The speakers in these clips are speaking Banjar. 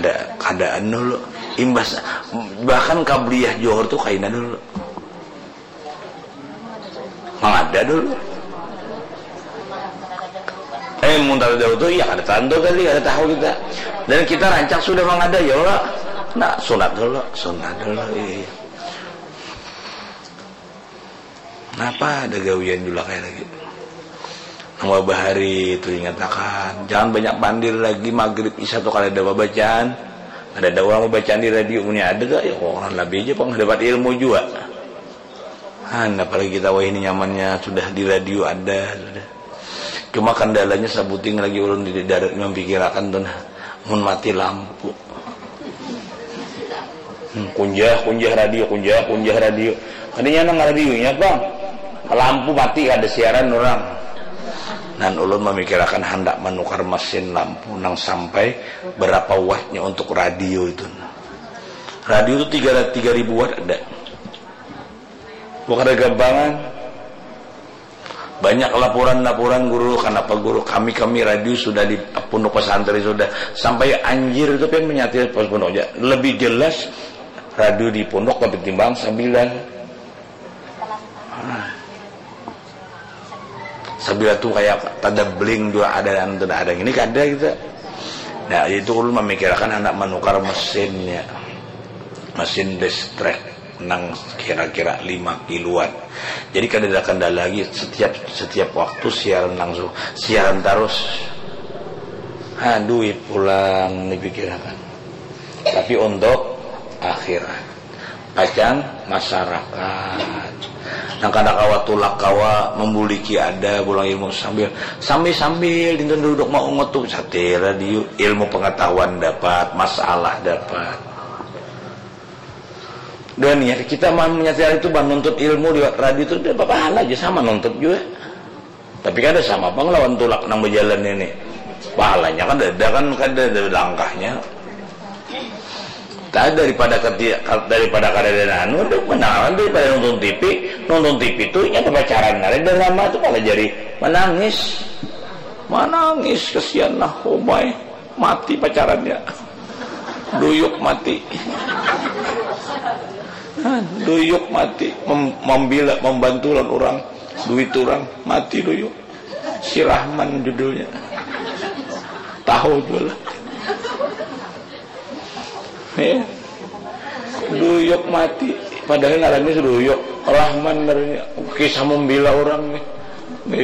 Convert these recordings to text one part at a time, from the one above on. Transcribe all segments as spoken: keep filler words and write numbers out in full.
Kada, kada anu lo. Imbas, bahkan kabliyah Johor tu kaina dulu. Mangada dulu. Eh, mun tadahulu tu, iya, kada tantu tadi, kada tahu kita. Dan kita rancak sudah mangada, ya Allah. Nah, sunat dulu, sunat dulu, iya, iya. Napa ada gawian jua kaya lagi? Nang babahari itu ingatakan, jangan banyak pandir lagi, magrib, isya tu kada ada babacaan. Kada ada urang babacaan di radio, munnya ada tu, ya, orang lebih aja pang dapat ilmu jua. Han, apalagi kita wahini nyamannya sudah di radio ada, sudah. Cuma kendalanya sabuting lagi ulun di darat memikirakan tu nah, mun mati lampu. Hmm, kunjah, kunjah radio, kunjah, kunjah radio. Kadanya nang radionya, Bang. Lampu mati, kada siaran orang. Nan ulun memikirakan handak manukar mesin lampu nang sampai berapa wattnya untuk radio itu. Radio itu tiga, tiga ribu watt ada. Bukan ada gampangan. Banyak laporan-laporan guru, kenapa guru kami, kami radio sudah di pondok pesantren sudah. Sampai anjir itu kan menyatir pas pondok aja. Lebih jelas radio di pondok lebih timbang Sabila. Ah. Sabila tu kayak tanda bling jua ada dan tidak ada. Ini kada gitu. Nah, itu ulun memikirkan anak menukar mesinnya. Mesin destrek nang kira-kira lima kiloan. Jadi kada ada kendala lagi, setiap, setiap waktu siaran langsung, siaran terus. Ha, duit pulang dipikirakan. Tapi untuk akhirat. Pacang masyarakat. Nang kada kawa tulak kawa membuliki ada pulang ilmu sambil, sambil, sambil dinten duduk maungut tu satir radio, ilmu pengetahuan dapat, masalah dapat. Dan ya, kita mah menyatir itu, bah, nuntut ilmu liwat radio itu, dia pahala aja, sama nuntut juga. Tapi kada sama pang lawan tulak nang berjalan ini. Pahalanya kan ada, kan kada ada langkahnya. Tak daripada ketia-, daripada kada ada anu, ada menangan daripada nonton T V, nonton T V itu nya pacaran, ada drama itu malah jadi menangis. Menangis, kesian lah, oh my. Mati pacarannya. Duyuk mati. Duyuk mati. Mem-, membela, membantu lawan orang. Duit orang. Mati duyuk. Si Rahman judulnya. Tahu jua lah. Ya. Duyuk mati. Padahal ngarannya si Duyuk. Rahman ngarannya. Kisah membela orang nih.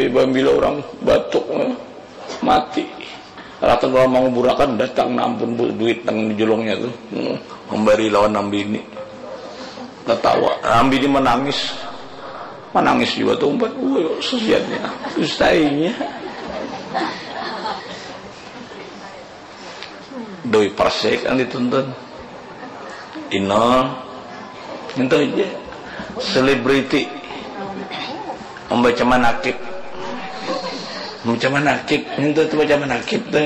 Membela orang batuk. Mati. Ratan orang manguburakan, datang, nah ampun, Bu, duit nang di julungnya tu. Hmm, membari lawan nang bini. Tatawa. Nang bini menangis. Menangis juga tu umpat. Wah, sesiannya. Dustainya. Doi persik nang dituntun. Inol. Nyentuh aja. Selebriti. Membaca manakib. Membaca manakib. Nyentuh tu baca manakib tu.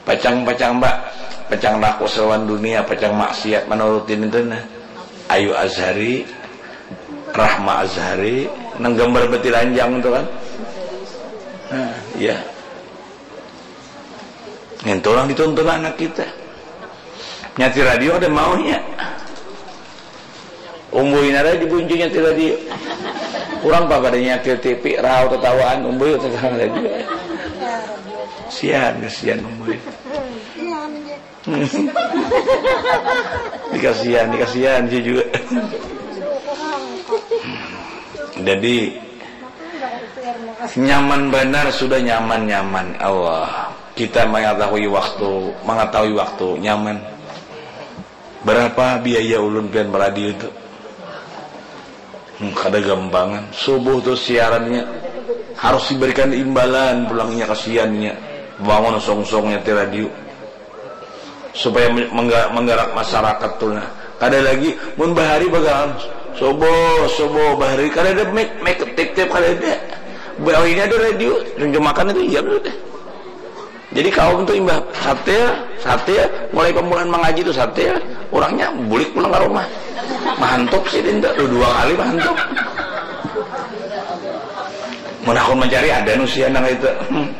Pacang-pacang, Mbak. Pacang laku selawan dunia, pacang maksiat menurutin itu nah. Ayu Azhari, Rahma Azhari, nang gambar betilanjang tu kan. Nah, iya. Ngintu orang dituntun anak kita. Nyatir radio ada maunya. Umbuy nara dibuncu nyatir radio. Orang apa pada nyatir T V, rau tatawaan, umbuy tatawaan radio. Sian, kesian umbuy. Dikasihan, dikasihan sih juga. Jadi nyaman benar, sudah nyaman-nyaman. Allah, kita mengetahui waktu, mengetahui waktu nyaman. Berapa biaya ulun pian meradio itu? Hmm, kada gampangan. Subuh tu siarannya harus diberikan imbalan pulangnya, kasiannya. Bangun songsongnya di radio. Supaya men-, mengga-, menggerak masyarakat tu nah. Kada lagi, mun bahari bagalan. Subuh, subuh, bahari. Kada ada mic, mic, tip-tip, kada ada. Bahwa ini ada radio, junjumakan itu, iya, betul deh. Jadi kaum tu imbah satir, satir, mulai pamulaan mangaji tu satir, urangnya bulik pulang ka rumah. Mahantup sidin tu, dua kali mahantup. Mun hakun mancari ada nu sia nang itu. Hmm.